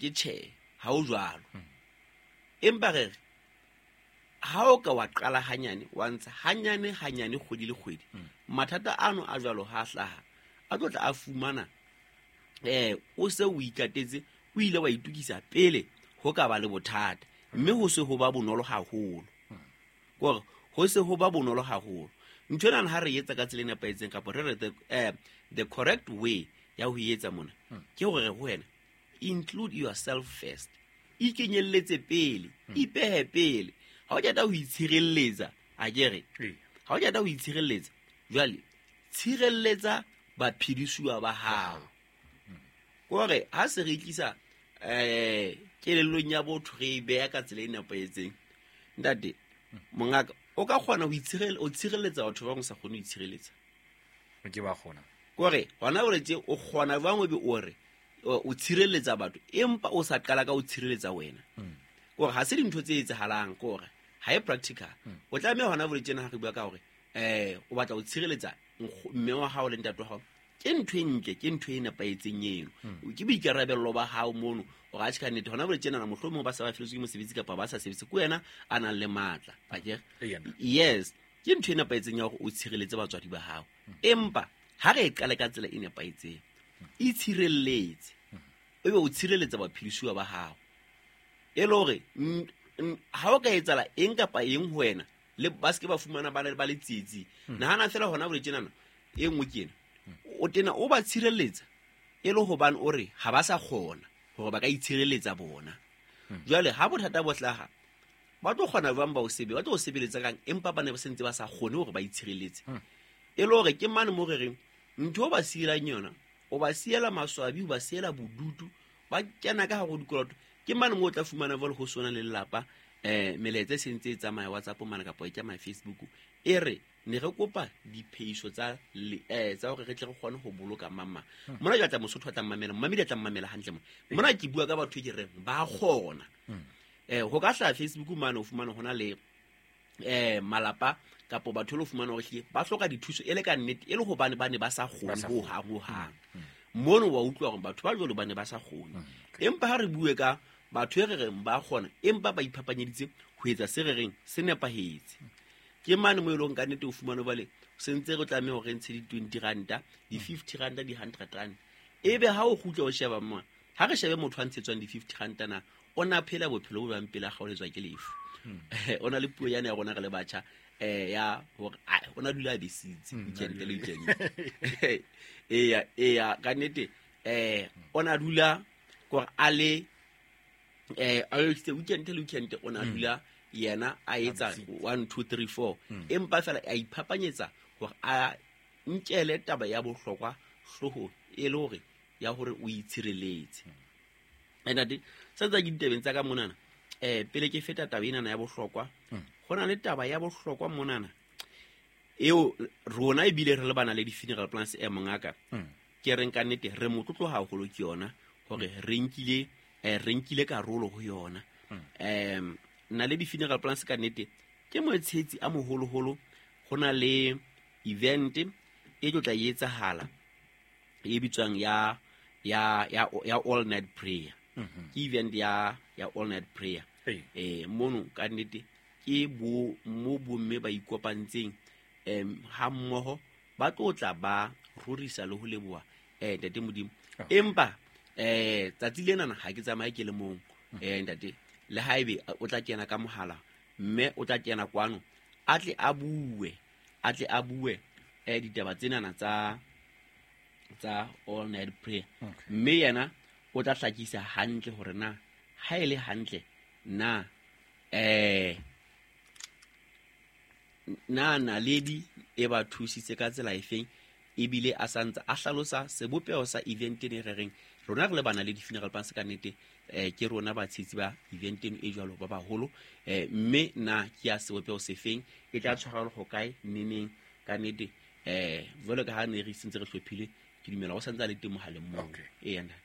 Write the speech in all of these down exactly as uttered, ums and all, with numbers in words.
ke tjhe ha o jwalo. Empa re re ha o ka wa qala hanyane wa ntsha hanyane hanyane kgwedi le kgwedi, mathata ano a jwalo ha hlaha a tlo tla a fumana eh o se o ikatetse, o ile wa itukisa pele ho ka ba le bothata, mme ho se ho ba bonolo haholo. Kore ho se ho ba bonolo haholo. Ntho ena ha re etsa ka tsela e nepahetseng kapa re re the, eh, the correct way ya ho etsa mona ke hore ho wena include yourself first, ikenyelletse pele, ipehe pele. Ha o qeta ho itshireletsa, a ke re ha o qeta ho itshireletsa jwale tshireletsa baphedisuwa ba hao. Kore ha se re tlisa eh kelellong ya botho re e beha ka tsela e nepahetseng, ntate mongaka o ka kgona ho itshirele o tshireletsa batho ba bang o sa kgone ho itshireletsa. Ke ba kgona. Kore hona hore tje o kgona jwang o be o re o tshireletsa batho empa o sa qala ka o tshireletsa wena. Kore ha se dintho tse etsahalang, kore ha e practical. O tlameha hona hore tjena ha re bua ka hore eh o batla ho tshireletsa mme wa hao le ntate wa hao, ke ntho e ntle, ke ntho e nepahetseng eno. Ke boikarabello ba hao mono hore a tjhe ka nnete hona hore tjena mohlomong ba sa ba feletswe ke mosebetsi kapa ba sa sebetse, ke wena a nang le matla. Akere? Yes, ke ntho e nepahetseng ya hore o tshireletse batswadi ba hao. Empa ha re e qale ka tsela e nepahetseng, itshireletse, o be o tshireletsa baphedisuwa ba hao. E le hore ha o ka etsahala eng kapa eng ho wena, le ba se ke ba fumana ba le ba le tsietsi. Nahana fela hona hore tjenana e nngwe ke ena, o tena o ba tshireletsa e le hobane o re ha ba sa kgona hore ba ka itshireletsa bona. Jwale ha bothata bo hlaha, ba tlo kgona jwang ba o sebe, ba tlo o sebeletsa kang empa ba ne ba sentse ba sa kgone hore ba itshireletse. E le hore ke mane mo re reng ntho o ba sielang yona, o ba siela maswabi, o ba siela bodutu, ba kena ka hare ho dikoloto. Ke mane mo o tla fumana jwale ho sona le lelapa eh melaetsa e sentse e tsamaya WhatsApp mane kapa e tsamaya Facebook, e re ne re kopa diphehiso tsa eh tsa hore re tle re kgone ho boloka mama. Mona ke tla Mosotho a tla mmamela, mmamedi a tla mmamela hantle mona. Mona ke bua ka batho ke reng ba kgona. Eh ho ka hlaha Facebook mane o fumana hona le eh malapa kapa batho le fumana hore hle ba hloka dithuso e le ka nnete, e le hobane ba ne ba sa kgone ho hang ho hang. Mono wa utlwa hore batho ba jwalo ba ne ba sa kgone. Empa ha re bue ka batho e re reng ba kgona empa ba iphapanyeditse ho etsa se re reng se nepahetse. Ke mane mo e leng ka nnete o fumane bale sentse re tlameha hore re ntshe di twenty ranta, di fifty ranta, di hundred rand. Ebe ha o kgutla o sheba mona, ha re shebe motho a ntshetswang di fifty ranta na o na phela bophelo bo bang pele a kgaoletswa ke lefu. O na le puo yana ya rona re le batjha eh ya hore o na dula a besitse weekend le weekend. Eya eya ka nnete eh o na dula gore a le eh a le weekend le weekend o na dula yena a etsa one two three four, empa fela a iphapanyetsa hore a nkele taba ya bohlokwa hlooho e le hore ya hore o itshireletse. Ntate sa tsa ke ditabeng tsa ka monana eh pele ke feta taba ena ya bohlokwa, ho na le taba ya bohlokwa monana eo rona ebile re le bana le di-funeral plans e mongaka ke reng ka nnete re motlotlo haholo ke yona hore re nkile eh re nkile karolo ho yona. Em na le di-funeral plans ka nnete ke motshetsi a moholoholo. Ho na le event e tlo tla etsahala e bitswang ya ya ya ya all night prayer. Ke event ya ya all night prayer. Eh mono ka nnete ke bo mo bomme ba ikopantseng em ha mmoho ba tlo tla ba rorisa le ho leboha eh ntate Modimo. Empa eh tsatsi lena ha ke tsamaye ke le mong eh ntate, le haebe o tla kena ka mohala mme o tla kena kwano a tle a bue a tle a bue eh ditaba tsenana tsa tsa all night prayer. Mme yena o tla hlakisa hantle hore na ha ele hantle na eh na naledi e ba thusitse ka tsela efeng, ebile a santse a hlalosa sebopeho sa event ene re reng rona re le bana le di-funeral plans ka nnete eh ke rona batshetsi ba event eno e jwalo ba baholo eh mme na ke ya sebopeho sefeng, e tla tshwarelwa ho kae neneng ka nnete eh jwalo ka ha ne re sentse re hlophile, ke dumela o santse a le teng mohaleng moo. Ee ntate.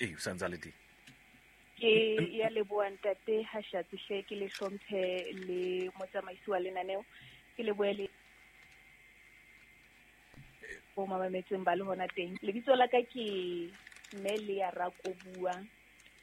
Ee o santse a le teng. Ke ya leboha ntate Hashatsi hle, ke le hlomphe le motsamaisi wa lenaneo, ke lebohe le bo mametseng ba le hona teng. Lebitso la ka ke Mme Lea Rakobua,